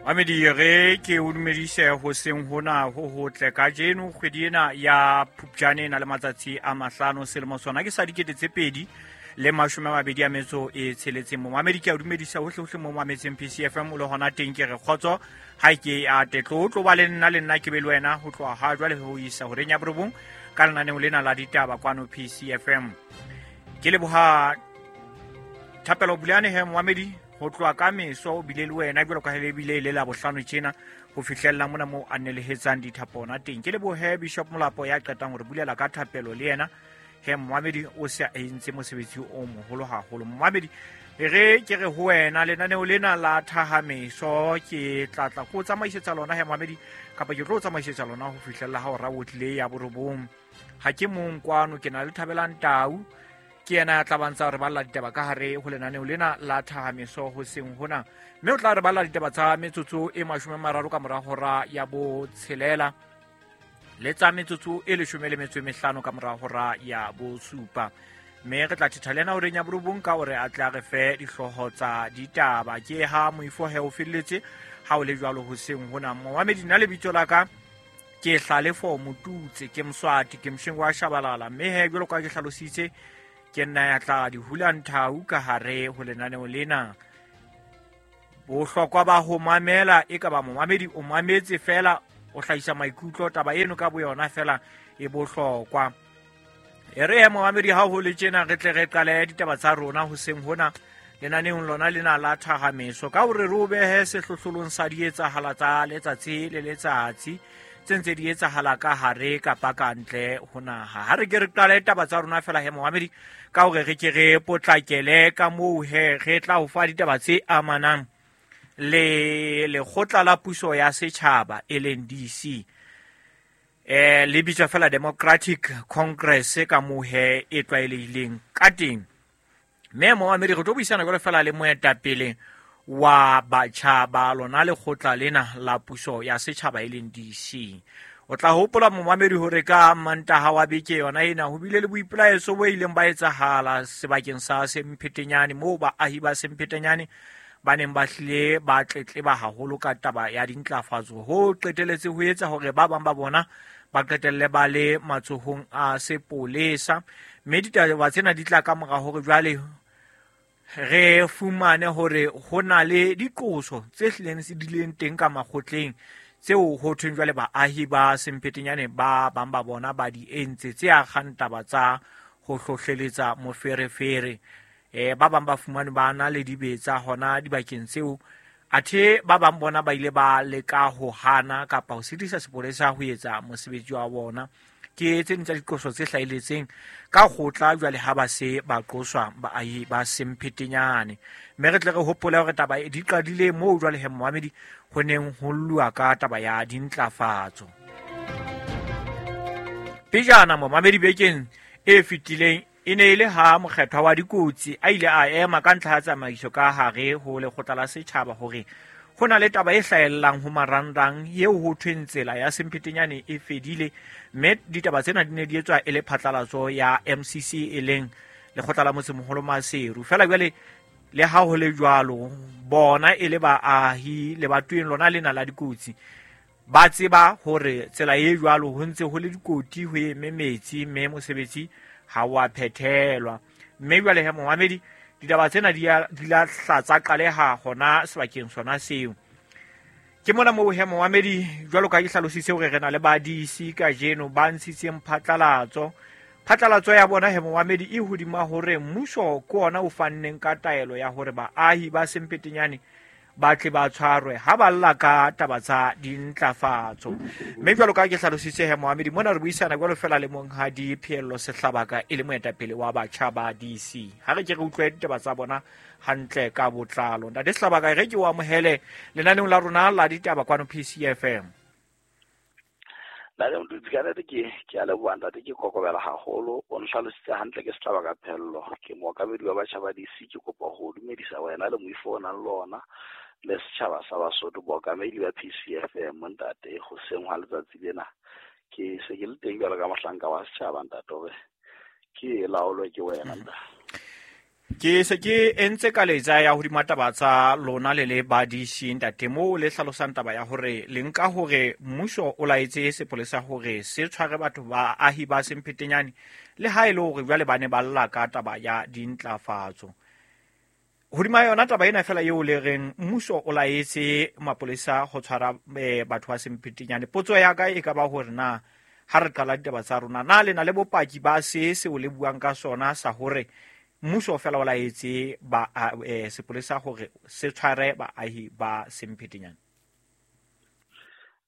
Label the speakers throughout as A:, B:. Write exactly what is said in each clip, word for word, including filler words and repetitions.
A: Mamedi re ke o dumedise hoseng hona ho hotle kajeno kgwedi ena ya Phupjane na le matsatsi a mahlano selemo sona ke sa dikete tse pedi le mashome a mabedi a metso e tsheletseng. Momamedi ke a dumedisa hohle hohle mo mametseng P C F M o le hona teng ke re kgotso ha ke a tetlo tlo ba le nna le nna ke be le wena ho tloha ha jwale ho isa horeng ya borobong ka lenaneo lena la ditaba kwano P C F M. Ke leboha Thapelo Bulane he momamedi ho tloha ka meso o bile le wena jwalo ka ha le bile le la bohlano tjena ho fihlella mona mo a nelehetsang dithapona teng. Ke lebohe Bishop Molapo ya qetang hore bulela ka thapelo le yena he momamedi o se a entse mosebetsi o moholo haholo. Momamedi re ke re ho wena lenaneo lena la thahameso ke tlatla ko tsamaisetsa lona he momamedi kapa ke tlo tsamaisetsa lona ho fihlella ha hora o tlile ya borobong. Ha ke mong kwano ke na le Thabelang Tau ke yena ya tla bantsa re balla ditaba ka hare ho lenaneo lena la thahameso hoseng hona, mme o tla re balla ditaba tsa metsotso e mashome a mararo ka mora hora ya botshelela le tsa metsotso e leshome le metso e mehlano ka mora hora ya bosupa, mme re tla thetha le yena horeng ya borobong ka hore a tla re fe dihlooho tsa ditaba. Ke ha moifo he o felletse ha o le jwalo hoseng hona. Momamedi nna lebitso la ka ke Hlalefo Motutse, ke Mswati, ke Mshengo wa Shabalala, mme he jwalo ka ke hlalositse ke nna ya tla di hulang thau ka hare ho lenaneo lena. Bohlokwa ba ho mamela e ka ba momamedi o mametse fela o hlahisa maikutlo, taba eno ka boyona fela e bohlokwa. E re momamedi ha ho le tjena re tle re qale ditaba tsa rona hoseng hona lenaneong lona lena la thahameso ka hore re o behe sehlohlolong sa dietsahala tsa letsatsi le letsatsi tse ntse di etsahala ka hare kapa ka ntle ho naha. Ha re ke re qale taba tsa rona fela he momamedi ka hore re ke re potlakele ka moo he re tla ho fa ditaba tse amanang le lekgotla la puso ya setjhaba e leng D C, eh le bitswa fela Democratic Congress ka moo he e tlwaelehileng ka teng. Mme momamedi re tlo buisana jwalo fela le moetapele wa batjha ba lona lekgotla lena la puso ya setjhaba e leng D C. O tla hopola momamedi hore ka Mantaha wa beke yona ena ho bile le boipelaetso bo ileng ba etsahala sebakeng sa Semphetenyane moo baahi ba Semphetenyane ba neng ba hlile ba tletleba haholo ka taba ya dintlafatso ho qeteletse ho etsa hore ba bang ba bona ba qetelle ba le matsohong a sepolesa. Mme ditaba tsena di tla ka mora hore jwale re fumane hore ho na le diqoso tse hlileng se dileng teng ka makgotleng tseo ho thweng jwale baahi ba Semphetenyane ba bang ba bona ba di entse tse akgang taba tsa ho hlohleletsa moferefere. Eh ba bang ba fumane ba na le dibetsa hona dibakeng tseo, athe ba bang bona ba ile ba leka ho hana kapa ho sitisa sepolesa ho etsa mosebetsi wa bona. Ke tse ding tsa diqoso tse hlahelletseng ka kgotla jwale ha ba se ba qoswa baahi ba Semphetenyane. Mme re tle re hopole hore taba e di qadile moo jwale he momamedi ho neng ho lluwa ka taba ya dintlafatso. Pejana momamedi bekeng e fetileng e ne e le ha mokgethwa wa dikotsi a ile a ema ka ntlha ya tsamaiso ka hare ho lekgotla la setjhaba hore ho na le taba e hlahellang ho marangrang eo ho thweng tsela ya Semphetenyane e fedile, mme ditaba tsena di ne di etswa e le phatlalatso ya M C C e leng lekgotla la motsemoholo Maseru. Fela jwale le ha ho le jwalo bona e le baahi lebatoweng lona lena la dikotsi ba tseba hore tsela e jwalo ho ntse ho le dikoti ho eme metsi mme mosebetsi ha wa phethelwa. Mme jwale he momamedi ditaba tsena di a di la hlatsa qaleha hona sebakeng sona seo. Ke mona moo he momamedi jwalo ka ke hlalositse hore re na le ba D C kajeno ba ntshitseng phatlalatso. Phatlalatso ya bona he momamedi e hodima hore mmuso ke ona o fanneng ka taelo ya hore baahi ba Semphetenyane ba tle ba tshwarwe ha ba lla ka taba tsa dintlafatso. Mme jwalo ka ke hlalositse he momamedi mona re buisana jwalo fela le monghadi Pheello Sehlabaka e le moetapele wa batjha ba D C. Ha re ke re utlwe ditaba tsa bona hantle ka botlalo. Ntate Sehlabaka re ke o amohele lenaneong la rona la ditaba kwano P C F M.
B: Ntate Motutsi, ka nnete ke ke a leboha ntate, ke kokobela haholo. O nhlalositse hantle ke Sehlabaka Pheello, ke mookamedi wa batjha ba D C. Ke kopa ho dumedisa wena le moifo o nang le ona le setjhaba sa Basotho, bookamedi ba P C F M ntate. Hoseng hwa letsatsi lena ke se ke le teng jwalo ka mohlanka wa setjhaba ntate, hore ke laolwe ke wena ntate.
A: Ke se ke entse ka letsa ya hodima taba tsa lona le le badisi ntate moo le hlalosang taba ya hore le nka hore mmuso o laetse sepolesa hore se tshware batho ba ahi ba Semphetenyane le ha e le hore jwale ba ne ba lla ka taba ya dintlafatso. Hodima yona taba ena fela eo le reng mmuso o laetse mapolesa ho tshwara batho ba Semphetenyane. Potso ya ka e ka ba hore na ha re qala ditaba tsa rona na le na le bopaki ba se seo le buang ka sona sa hore mmuso fela o laetse ba eh, sepolesa hore se tshware baahi ba Semphetenyane?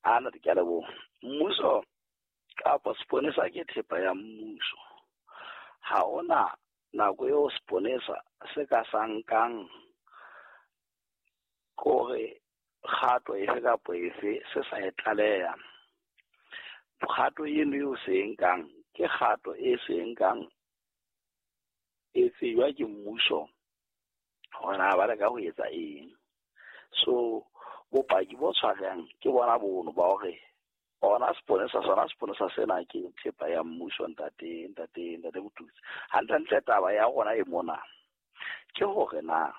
B: Ana ke a leboha. Mmuso kapa seponesa ke thepa ya mmuso. Ha ona nako eo seponesa se ka sa nkang kore kgato efe kapa efe se sa e tlaleha. Kgato eno eo se e nkang ke kgato e se e nkang e tsejwa ke mmuso hore na ba leka ho etsa eng. So bopaki bo tshwarang ke bona bono ba hore ona seponesa sona seponesa sena ke thepa ya mmuso ntate ntate ntate Motutsi. Hantlentle taba ya rona e mona ke hore na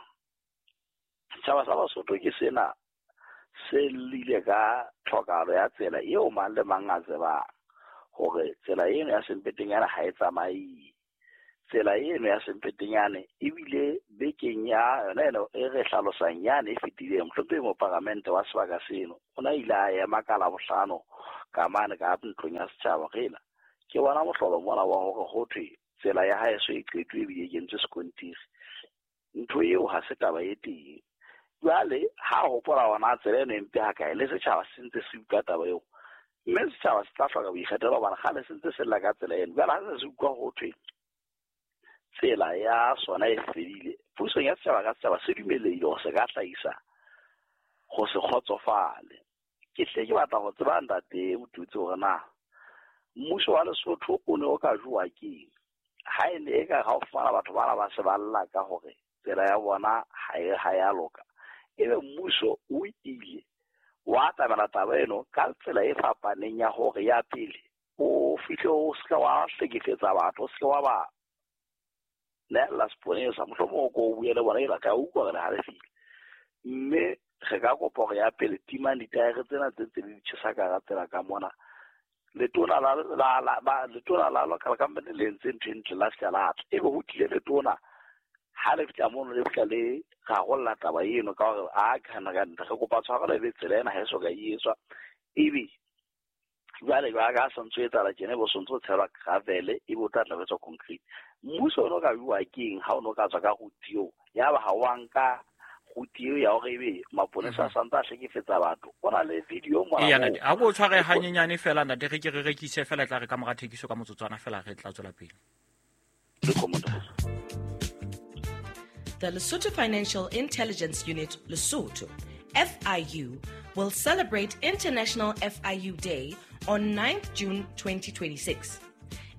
B: setjhaba sa Basotho ke sena se llile ka tlhokahalo ya tsela eo mang le mang a tsebang hore tsela eno ya Semphetenyane ha e tsamaye. Tsela eno ya Semphetenyane ebile bekeng ya yona eno e re hlalosang yane e fetileng, mohlomphehi moparamente wa sebaka seno o na ile a ema ka Labohlano ka mane ka ntlong ya setjhaba rela ke bona mohlolo mona wa hore ho thwe tsela ya haeso e qetwe ebile e kentswe sekontiri. Ntho eo ha se taba e teng. Jwale ha hopola hona tsela eno e mpe hakae le setjhaba se ntse se utlwa taba eo, mme setjhaba se tla hloka boikgethelo hobane kgale se ntse se lla ka tsela eno. Jwale ha se se utlwa ho thwe tsela ya sona e fedile, pusong ya setjhaba ka setjhaba se dumelehile hore se ka hlahisa ho se kgotsofale. Ke hle ke batla ho tseba ntate Motutsi hore na mmuso wa Lesotho o ne o ka jowa keng ha e ne e ka ha o fumana batho bana ba se ba lla ka hore tsela ya bona ha e ha ya loka, ebe mmuso o ile wa atamela taba eno ka tsela e fapaneng ya hore ya pele o fihle o se ka wa hlekefetsa batho, o se ka wa ba neela seponesa, mohlomong o ko o bue le bona e ka utlwa hore ha le fihle. Mme re ka kopa hore ya pele timang ditaere tsena tse ntse di tjhesa ka hara tsela ka mona. Letona la la la ba letona la local company le entse ntho e ntle la fihla la tla, ebe ho tlile letona ha le fihla mono le fihla le rarolla taba eno ka hore a kana ka ntle re kopa tshwarelo ebe tsela ena ha e soka e etswa. Ebe jwale jwale ka santse o etsahala tjena ebe o sontso o tshelwa gravel ebe o tla tla ho etswa concrete. Mmuso o no ka bua keng ha o no ka tswa ka route eo ya ba ha wa nka route eo ya hore ebe maponesa a santse a hlekefetsa batho? O na le video mona.
A: Eya ntate, ha ko tshware hanyenyane fela ntate, re ke re rekise fela tla re ka mora thekiso ka motsotswana fela re tla tswela pele.
C: The Lesotho Financial Intelligence Unit, Lesotho, F I U, will celebrate International F I U Day on ninth June twenty twenty-six.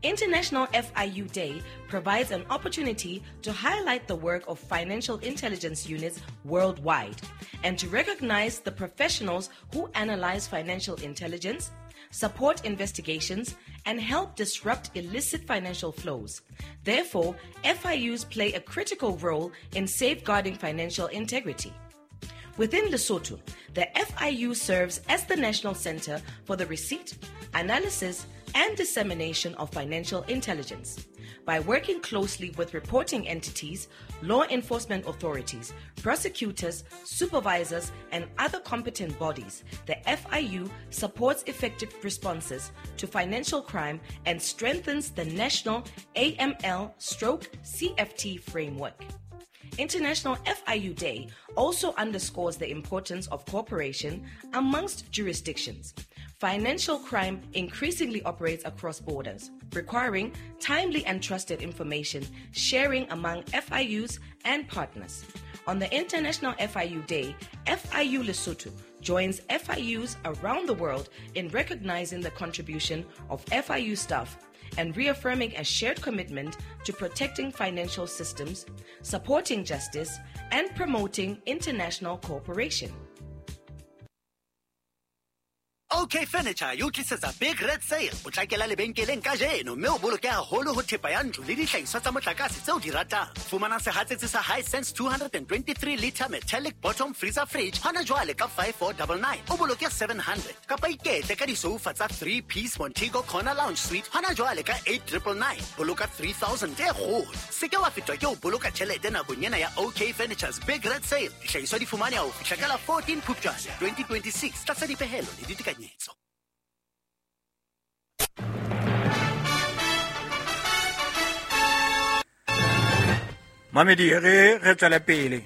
C: International F I U Day provides an opportunity to highlight the work of financial intelligence units worldwide and to recognize the professionals who analyze financial intelligence, support investigations, and help disrupt illicit financial flows. Therefore, F I Us play a critical role in safeguarding financial integrity. Within Lesotho, the F I U serves as the national center for the receipt, analysis, and dissemination of financial intelligence. By working closely with reporting entities, law enforcement authorities, prosecutors, supervisors, and other competent bodies, the F I U supports effective responses to financial crime and strengthens the national A M L stroke C F T framework. International F I U Day also underscores the importance of cooperation amongst jurisdictions. Financial crime increasingly operates across borders, requiring timely and trusted information sharing among F I Us and partners. On the International F I U Day, F I U Lesotho joins F I Us around the world in recognizing the contribution of F I U staff and reaffirming a shared commitment to protecting financial systems, supporting justice, and promoting international cooperation.
D: OK Furniture e o tlisetsa Big Red Sale. Potlakela lebenkeleng kajeno mme o boloke haholo ho thepa ya ntlo le dihlahiswa tsa motlakase tseo di ratang. Fumana sehatsetsi sa Hisense two twenty-three liter metallic bottom freezer fridge hona jwale ka five four nine nine. O boloke seven hundred. Kapa iketle ka disoufa tsa three piece Montego Corner Lounge Suite hona jwale ka eight triple nine. Boloka three thousand e kgolo. Se ke wa fetwa ke ho boloka tjhelete nakong ena ya OK Furniture's Big Red Sale. Dihlahiswa di fumaneha ho fihla ka la fourteen Phupjane twenty twenty-six tlasa dipehelo le ditekanyetso.
A: Mamedi re re tswele pele.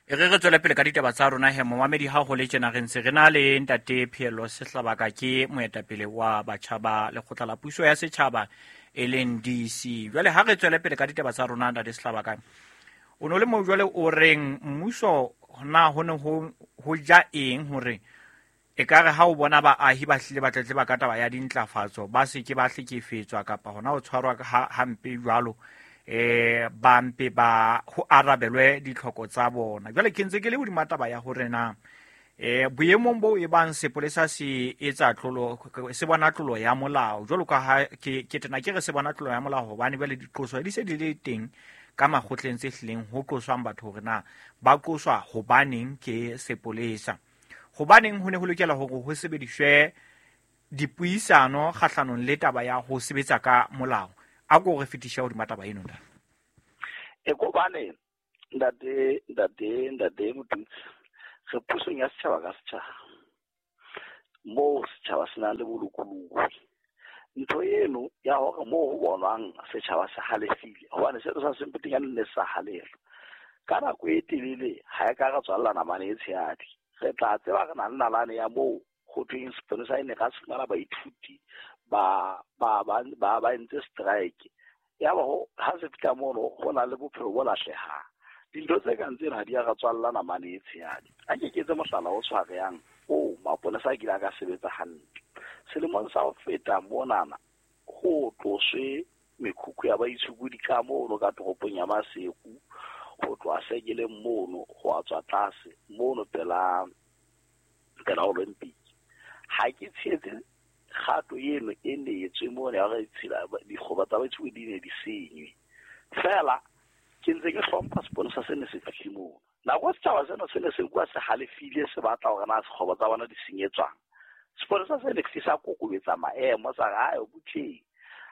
A: E re re tswele pele ka ditaba tsa rona he momamedi ha ho le tjena re ntse re na le ntate Pheello Sehlabaka ke moetapele wa batjha ba lekgotla la puso ya setjhaba e leng D C. Jwale ha re tswele pele ka ditaba tsa rona ntate Sehlabaka, o no le mo jwale o reng mmuso na ho ne ho ho ja eng hore e ka re ha o bona baahi ba hlile ba tletleba ka taba ya dintlafatso ba se ke ba hlekefetswa kapa hona ho tshwarwa ha hampe jwalo eh ba mpe ba ho arabelwe ditlhoko tsa bona. Jwale ke ntse ke le hodima taba ya hore na eh boemong bo e bang sepolesa se etsa tlolo se bona tlolo ya molao jwalo ka ha ke ke tena ke re se bona tlolo ya molao hobane jwale diqoso di se di le teng ka makgotleng tse hlileng ho qoswang batho hore na ba qoswa hobaneng ke sepolesa. Hobaneng ho ne ho lokela hore ho sebediswe dipuisano kgahlanong le taba ya ho sebetsa ka molao. A ko re fetisha hodima taba eno ntate.
B: E kobane ntate ntate ntate Motutsi, re pusong ya setjhaba ka setjhaba moo setjhaba se nang le bolokolohi. Ntho eno ya hore moo ho bonwang setjhaba se halefile hobane seo sa Sempetenyane ne sa halefa ka nako e telele ha e ka re tswalla namane e tshehadi. Re tla tseba re na le nalane ya moo ho thweng sepolesa e ne ka se fumana baithuti ba ba ba ba ba entse strike ya ba ho ha se fihla mono ho na le bophelo bo lahlehang. Dintho tse kang tsena ha di a re tswalla namane e tshehadi. A ke ke etse mohlala o tshwarehang o mapolesa a kile a ka sebetsa hantle. Selemong sa ho feta monana ho tloswe mekhukhu ya baitshokodi ka mono ka toropong ya Maseru ho tloha sekeleng mono ho a tswa tlase mono pela pela Olympic. Ha ke tshehetse kgato eno e ne etswe mono ya hore ditshila dikgoba tsa baitshokodi di ne di senywe. Fela ke ntse ke hlompha sepolesa se ne se fihle mono. Nako setjhaba sena se ne se nkuwa se halefile se batla hore na sekgoba tsa bona di senyetswang. Sepolesa se ne se sa kokobetsa maemo sa re ayo butleng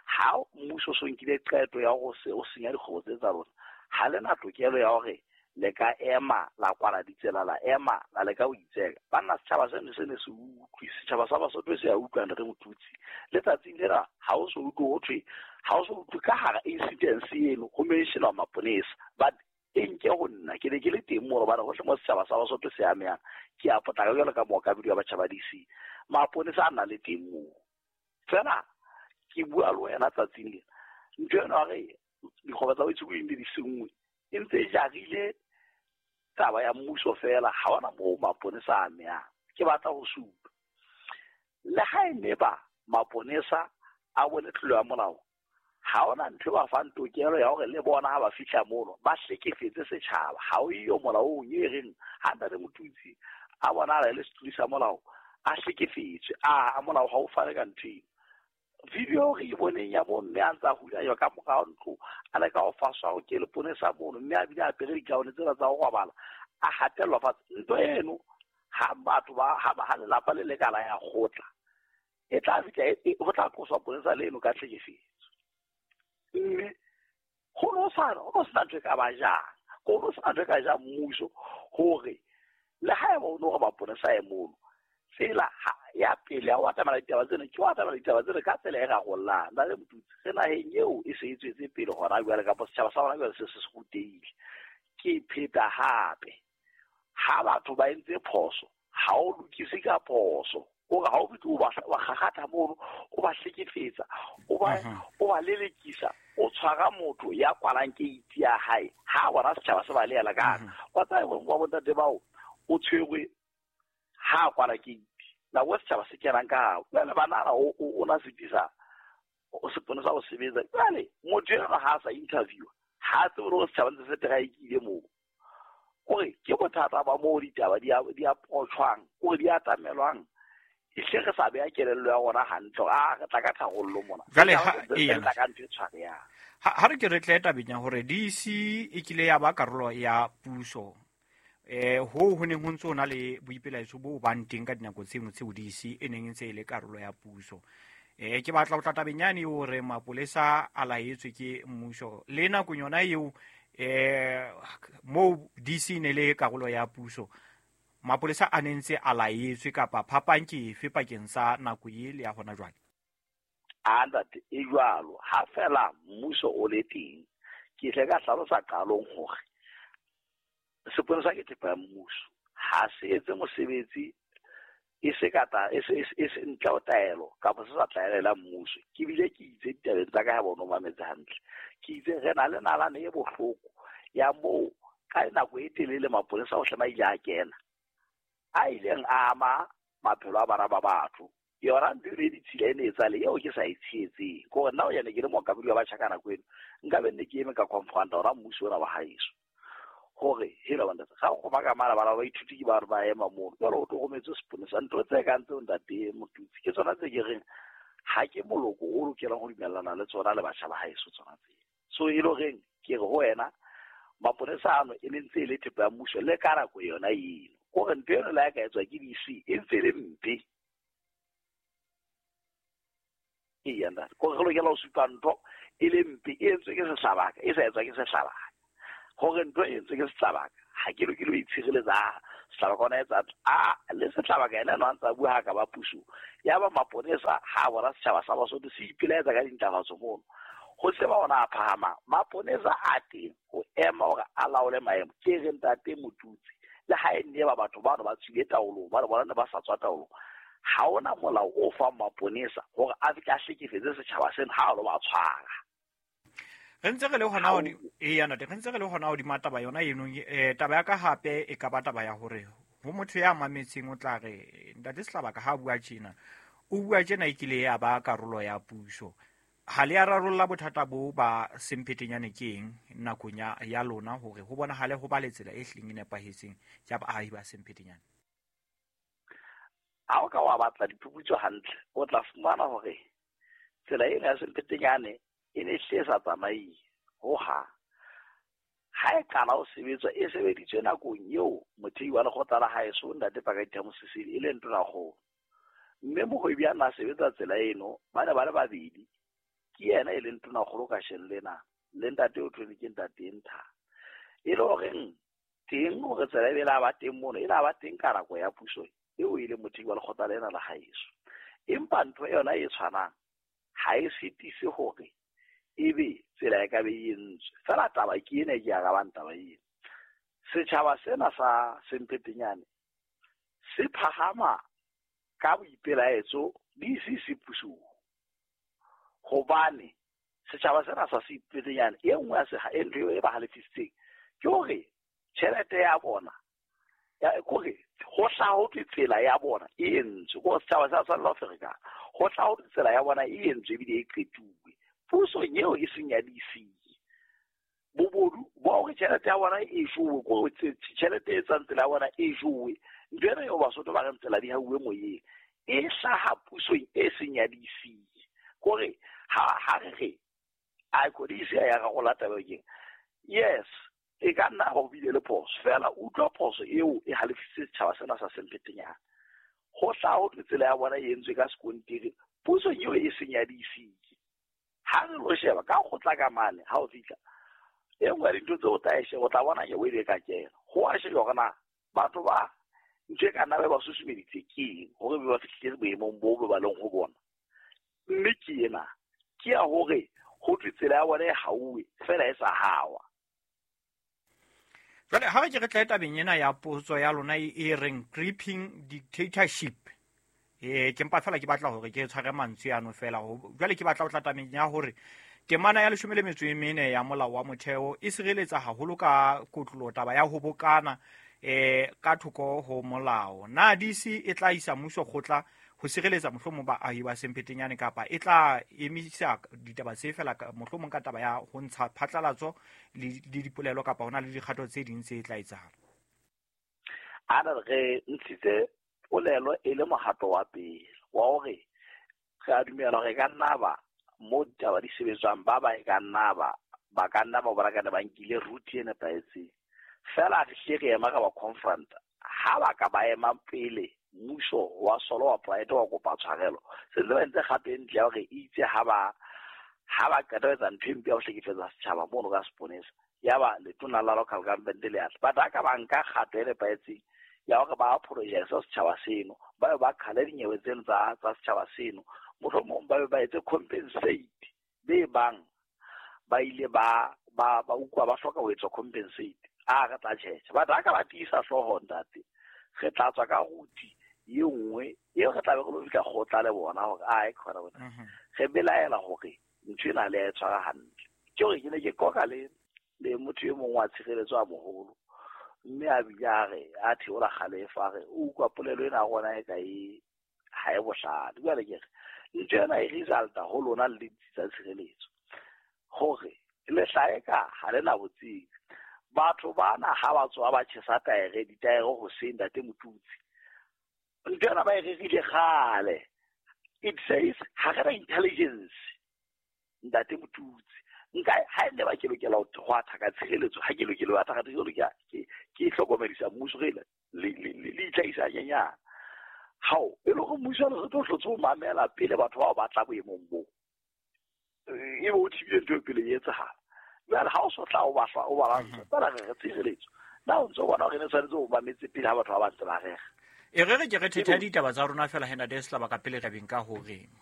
B: ha mmuso so nkile qeto ya hore se o senya dikgobo tse tsa rona ha le na tokelo ya hore le ka ema la kwala ditsela la ema la leka ho itseka. Banna setjhaba seno se ne se utlwe, setjhaba sa Basotho se a utlwa re Motutsi. Letsatsing lena ha o so utlwe ho thwe ha o so utlwe ka hara incidence eno ho mentionwa maponesa but e nke ho nna ke ne ke le teng moo hobane hohle mo setjhaba sa Basotho se amehang ke a potlaka jwalo ka mookamedi wa batjha ba D C. Maponesa a na le teng moo. Fela ke bua le wena tsatsing lena ntho eno ya hore dikgoba tsa baitshokodi di senngwe e ntse e jarile taba ya mmuso fela ha ona moo maponesa a amehang. Ke batla ho supa le ha e ne ba maponesa a bone tlolo ya molao ha ona ntho e ba fang tokelo ya hore le bona ha ba fihla mono ba hlekefetse setjhaba. Ha o iyo molaong e reng ha ntate Motutsi a bonala le setuli sa molao a hlekefetswe a molao ha o fane ka ntho eno. Video re e boneng ya bomme a ntse a hulanywa ka morao ntlo a leka ho faswa ke leponesa mono mme a bile a apere dikaone tsena tsa ho robala a hatellwa fatshe. Ntho eno ha batho ba ha lelapa le lekala ya kgotla e tla fihla ho tla qoswa ponesa leno ka tlhekefetso. Mme ho no sa ho sena ntho e ka ba jang ho no sena ntho e ka jang mmuso hore le haeba o no re maponesa e mono tsela ya pele ya ho atamela ditaba tsena ke ho atamela ditaba tsena ka tsela e rarollang. Ntate Motutsi re naheng eo e se e tswetse pele hona jwale kapa setjhaba sa hona jwale se se se rutehile. Ke pheta hape ha batho ba entse phoso ha o lokise ka phoso o re ha o fihle o ba kgakgatha mono o ba hlekefetsa o ba o ba lelekisa o tshwara motho ya kwalang keiti ya hae ha bona setjhaba se ba leela ka hare. Wa tseba wa bontate bao o tshwerwe ha kwala keiti nako setjhaba se kenang ka hare jwale banana o na setisa o sepone sa ho sebetsa. Jwale motho enwa ha a sa interview ha tsebe hore setjhaba ntse se teraekile moo. Kore ke bothata ba moo ditaba di a di approachwang kore di atamelwang e hle re sa beha kelello ya rona hantle a re tla ka tharollo mona.
A: Jwale ha
B: e tla ka ntho e tshwarehang.
A: Ha re ke re tle tabeng ya hore D C e kile ya ba karolo ya puso. Eh ho ho neng ho ntse ho na le boipelaetso bo bang teng ka dinako tse nngwe tseo D C e neng e ntse e le karolo ya puso. Eh ke batla ho tla tabeng yane hore mapolesa a laetswe ke mmuso le nakong yona eo eh mo D C ne le karolo ya puso mapolesa a ne ntse a laetswe kapa phapang ke efe pakeng sa nako e le ya hona jwale?
B: A ntate e jwalo ha fela mmuso o le teng ke tle ka hlalosa qalong hore sepolesa ke thepa ya mmuso ha se etse mosebetsi e se ka ta e se e se ntle ho taelo kapa se sa tlaelela mmuso. Ke bile ke itse ditabeng tsa ka ha bona o mametse hantle ke itse re na le nalane e bohloko ya moo ka nako e telele mapolesa ohle ma ile a kena a ileng a ama maphelo a bana ba batho. Yona ntho e ditshila e ne e tsale eo ke sa e tshehetseng kore nna o yane ke le mookamedi wa batjha ka nako eno nka be nne ke eme ka confronta ona mmuso ona wa haeso hore hela bana ga go baka mala bana ba ithuti ke ba re ba ema mono jwale o tlogometse seponesa ntho tse kang tseo ntate Motutsi ke tsona tse ke reng ha ke moloko o lokelang ho dumellana le tsona le batjha ba haeso tsona tse. So e le horeng ke re ho wena maponesa ano e ne ntse e le thepa ya mmuso le ka nako yona eno kore ntho eno le ha e ka etswa ke D C e ntse e le mpe. Eya ntate kore re lokela ho supa ntho e le mpe e entswe ke sehlabaka e sa etswa ke sehlabaka hore ntho e entswe ke sehlabaka ha ke lokele ho itshireletsa sehlabaka ona etsa a le sehlabaka ena no a ntsa bua ha ka ba puso ya ba maponesa ha bona setjhaba sa Basotho se ipelaetsa ka dintlafatso mono ho se ba ona a phahama maponesa a teng ho ema hore a laole maemo. Ke re ntate Motutsi le ha e nne ba batho bano ba tswile taolong ba re bona ne ba sa tswa taolong ha ona molao o fang maponesa hore a fihle a hlekefetse setjhaba sena ha a lo ba tshwara.
A: Re ntse re le hona ho eya ntate re ntse re le hona hodima taba yona eno eh taba ya ka hape e ka ba taba ya hore ho motho ya mametseng o tla re ntate Sehlabaka ha bua tjena o bua tjena e kile ya ba karolo ya puso ha le a rarolla bothata bo ba semphetenyane ke eng nakong ya ya lona hore ho bonahale ho ba le tsela e hleng e nepahetseng ya baahi ba semphetenyane?
B: Ha o ka wa batla diphuputso hantle o tla fumana hore tsela ena ya semphetenyane e ne hle sa tsamaye ho ha ha e qala ho sebetswa e sebeditswe nakong eo mothei wa lekgotla la haeso ntate Pakalitha Mosisili e le ntonakgolo mme mohwebi a na sebetsa tsela eno ba ne ba le babedi ke yena e leng tonakgolo kasheno lena le ntate o thweng ke ntate Ntha e le horeng teng hore tsela e be la ba teng mono e la ba teng ka nako ya puso eo e leng mothei wa lekgotla lena la haeso. Empa ntho yona e tshwanang ha e sitise hore ebe tsela e ka be e entswe fela taba ke ena e ke arabang taba ena. Setjhaba sena sa Semphetenyane se phahama ka boipelaetso di se se pusong hobane setjhaba sena sa Semphetenyane e nngwe ya seha e ntho e ba halefisitseng ke hore tjhelete ya bona ya kore ho hlaha ho thwe tsela ya bona e entswe ko setjhaba sa tshwanela ho ferekana ho hlaha ho thwe tsela ya bona e entswe ebile e qetuwe pusong eo e seng ya D C bobodu ba hore tjhelete ya bona e jowe ko tjhelete e tswang tsela ya bona e jowe ntho ena eo Basotho ba reng tsela di hauwe moyeng e hlaha pusong e seng ya D C kore ha ha re re a ko D C ya rarolla taba eo keng yes e ka nna ho bile le phoso fela utlwa phoso eo e halefisitse setjhaba sena sa Semphetenyane ho hlaha ho thwe tsela ya bona e entswe ka sekontiri pusong eo e seng ya D C. Ha re lo sheba ka kgotla ka mane ha o fihla e nngwe ya dintho tseo o tla e sheba o tla bona ke o e ka kena ho a shejwa hore na batho ba ntho e ka nna ba ba susumeditse ke eng hore be ba fihlile boemong boo be ba leng ho bona mme ke ena ke ya hore ho thwe tsela ya bona e hauwe fela e sa hawa.
A: Jwale ha re ke re tle tabeng ena ya potso ya lona e reng creeping dictatorship eh ke mpa fela ke batla hore ke tshware mantswe ano fela jwale ke batla ho tla tabeng ya hore temana ya leshome le metso e mene ya molao wa motheo e sireletsa haholo ka kotlolo taba ya ho bokana eh ka thoko ho molao. Na D C e tla isa mmuso kgotla ho sireletsa mohlomong baahi ba Semphetenyane kapa e tla emisa ditaba tse fela mohlomong ka taba ya ho ntsha phatlalatso le dipolelo kapa hona le dikgato tse ding tse tla etsahala?
B: A re re ntshitse polelo e le mohato wa pele wa hore re a dumela hore e ka nna ba mo ditaba di sebetswang ba ba e ka nna ba ba ka nna ba bona ka ne ba nkile route e nepahetseng. Fela re hle re ema ka ba confront ha ba ka ba ema pele mmuso wa solo wa private wa kopa tshwarelo se ntse ba entse kgato e ntle ya hore itse ha ba ha ba qeta ho etsa ntho e mpe ya ho hlekefetsa setjhaba mono ka seponesa ya ba letona la local government le atla but ha ka ba nka kgato e nepahetseng ya hore ba apologize setjhaba seno ba be ba qhale dinyewe tseno tsa tsa setjhaba seno mohlomong ba be ba etse compensate be bang ba ile ba ba ba utlwa ba hloka ho etswa compensate a re tla tjhetjha but ha ka ba tiisa hlooho ntate re tla tswa ka route e nngwe eo re tla be re lo fihla kgotla le bona hore ae khona bona re belaela hore ntho ena le ya e tshwara hantle. Ke hore ke ne ke qoqa le le motho e mong wa tshireletso a moholo mme a bile a re a theola kgalefo a re o utlwa polelo ena ya rona e ka e ha e bohlale. Jwale ke re ntho ena e resulta ho lona le ditsi tsa tshireletso hore le hlaeka ha le na botsebi. Batho bana ha ba tswa ba tjhesa taere ditaere hoseng ntate Motutsi ntho ena ba e rerile kgale. It says ha re na intelligence ntate Motutsi nka ha e ne ba ke lokela ho hwatha ka tshireletso ha ke lokela ho hwatha ka tshireletso ke ke hlokomedisa mmuso re le le le itlhahisa nyenyana hao e le hore mmuso re tlo hlotse ho mamela pele batho bao ba tla boemong boo e be o thibile ntho e pele e etsahala. Jwale ha o so tla o ba o ba lwantsha fela re re tshireletso na o ntso bona hore ne tshwanetse o mametse pele ha batho ba ba ntse ba rera.
A: E re re ke re thetha ditaba tsa rona fela hena Desla ba ka pele tabeng ka hore